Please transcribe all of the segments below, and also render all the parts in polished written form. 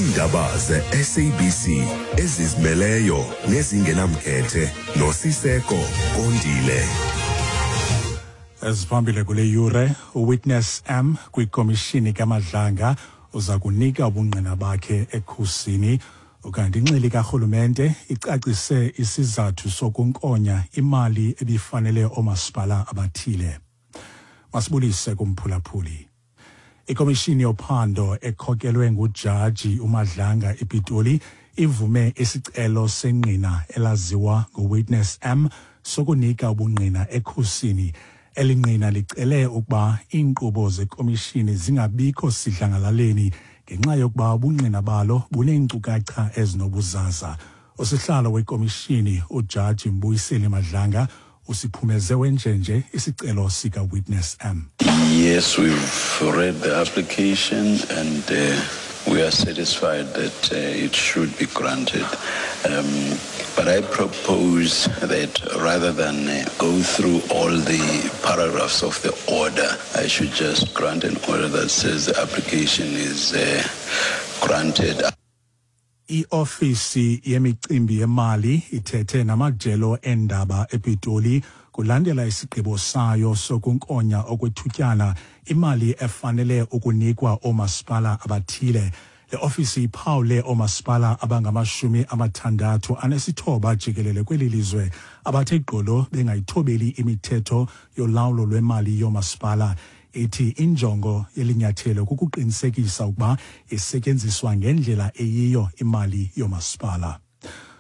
Iindaba ze-SABC ezizimeleyo nezingenamkhethe noSiseko Kondile. Eziphambili kule yure, uWitness M kwikomishini kaMadlanga uza kunika ubungqina bakhe ekhusini. Ukanti inxili karhulumente icacise isizathu sokunkonya imali ebifanele oomasipala abathile. Masibulise kumphulaphuli. Ikomishini yophando ekhokelwe ngujaji uMadlanga ePitoli ivume isicelo sengqina elaziwa ngoWitness M sokunika ubungqina ekhusini. Eli ngqina licele ukuba iinkqubo zekomishini zingabikho sidlangalaleni ngenxa yokuba ubungqina balo buneenkcukacha ezinobuzaza. Usihlalo wekomishini uJaji Mbuyiseli Madlanga usiphumeze wenjenje isicelo sika-Witness M. Yes, we've read the application and we are satisfied that it should be granted. But I propose that rather than go through all the paragraphs of the order, I should just grant an order that says the application is granted. I-ofisi yemicimbi yemali ithethe namajelo eendaba ePitoli kulandela isigqibo sayo sokunkonya okwethutyana imali efanele ukunikwa oomasipala abathile. Le ofisi iphawule oomasipala abangama-69 jikelele kweli lizwe abathe gqolo bengayithobeli imithetho yolawulo lwemali yoomasipala. Ithi injongo yelinyathelo kukuqinisekisa ukuba isetyenziswa ngendlela eyiyo imali yoomasipala.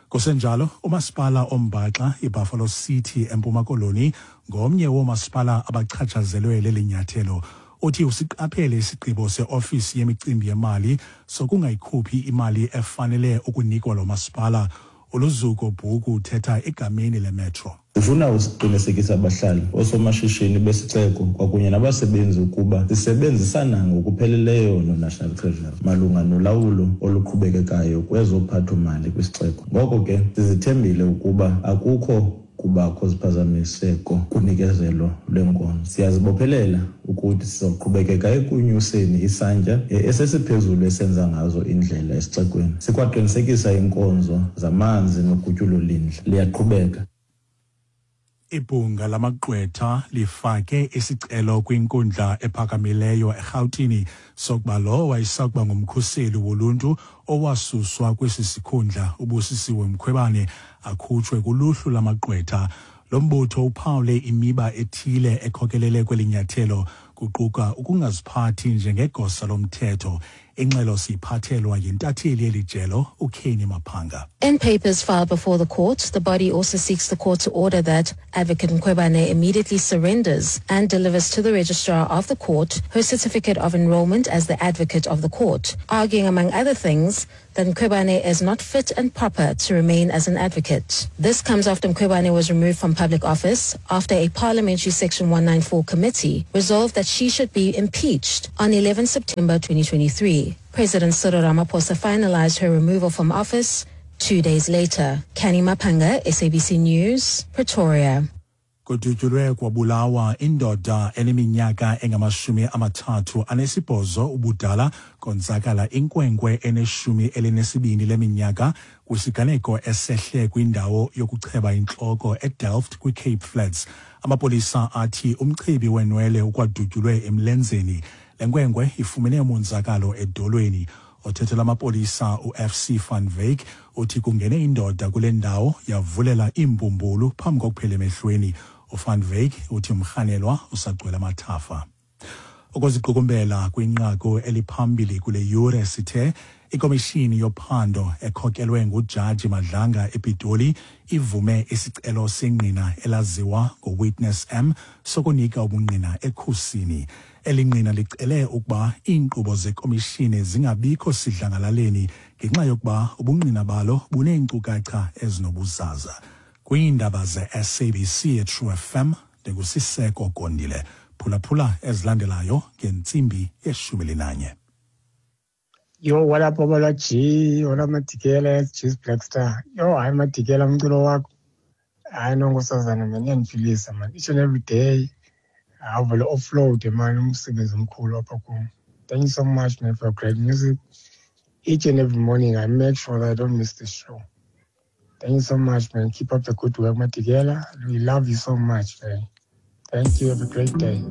Kusenjalo, umasipala ombaxa iBuffalo City eMpuma Koloni ngomnye woomasipala abachatshazelwe leli nyathelo. Uthi usiqaphele isigqibo seofisi yemicimbi yemali sokungayikhuphi imali efanele ukunikwa lo masipala. ULuzuko Bhuku uthetha egameni leMetro. Sifuna usiqinisekisa abahlali, oosomashishini besixeko kwakunye nabasebenzi ukuba sisebenzisana ngokupheleleyo no-National Treasury malunga nolawulo oluqhubekekayo kwezophatho-mali kwisixeko. Ngoko ke sizithembile ukuba akukho kubakho ziphazamiseko kunikezelo lweenkonzo. Siyazibophelela ukuthi sizoqhubekeka ekunyuseni isantya esesiphezulu esenza ngazo indlela esixekweni. Sikwaqinisekisa iinkonzo zamanzi nogutyulo lindle liyaqhubeka. Ibhunga lamagqwetha lifake isicelo kwinkundla ephakamileyo eRhawutini sokuba lowo wayesakuba ngumkhuseli woluntu owasuswa kwesi sikhundla uBusisiwe Mkhwebane akhutshwe kuluhlu lamagqwetha. Lo mbutho uphawule imiba ethile ekhokelele kweli nyathelo kuquka ukungaziphathi njengegosa lomthetho. Ingxelo siyiphathelwa yintatheli yeli jelo uKenny Maphanga. In papers filed before the court, the body also seeks the court to order that Advocate Mkhwebane immediately surrenders and delivers to the registrar of the court her certificate of enrollment as the advocate of the court, arguing, among other things, that Mkhwebane is not fit and proper to remain as an advocate. This comes after Mkhwebane was removed from public office after a parliamentary Section 194 committee resolved that she should be impeached on 11 September 2023. President Cyril Ramaphosa finalized her removal from office 2 days later. Kenny Mapanga, SABC News, Pretoria. Kudutyulwe kwabulawa indoda eneminyaka engama-38 ubudala konzakala inkwenkwe eneshumi elinesibini leminyaka kwisiganeko esehle kwindawo yokucheba intloko eDelft kwiCape Flats. Amapolisa athi umchebi wenwele ukwadutyulwe emlenzeni. Le nkwenkwe ifumene umonzakalo edolweni. Othethela amapolisa uFC van Wyk uthi kungene indoda kule ndawo yavulela iimbumbulu phambi kokuphela emehlweni. UVan Wyk uthi umrhanelwa usagcwele amathafa. Ukuziqukumbela kwinqaku eliphambili kule yure sithe ikomishini yophando ekhokelwe ngujaji Madlanga ePitoli ivume isicelo sengqina elaziwa ngoWitness M sokunika ubungqina ekhusini. Eli ngqina licele ukuba iinkqubo zekomishini zingabikho sidlangalaleni ngenxa yokuba ubungqina balo buneenkcukacha ezinobuzaza. Kwiindaba ze-SABC eTrue FM, ndinguSiseko Gondile. Phulaphula ezilandelayo ngentsimbi yeshumi linanye. Yo, what up, Babalwa G? What up, Madikela, G's Black Star? Yo, hayi Madikela, umculo wakho. Hayi no, nkosazana man, iyandiphilisa man. Each and every day. Awuvele offload man, umsebenzi omkhulu apha kum. Thank you so much man for your great music. Each and every morning, I make sure that I don't miss the show. Thank you so much, man. Keep up the good work, Matigela. We love you so much, man. Thank you. Have a great day.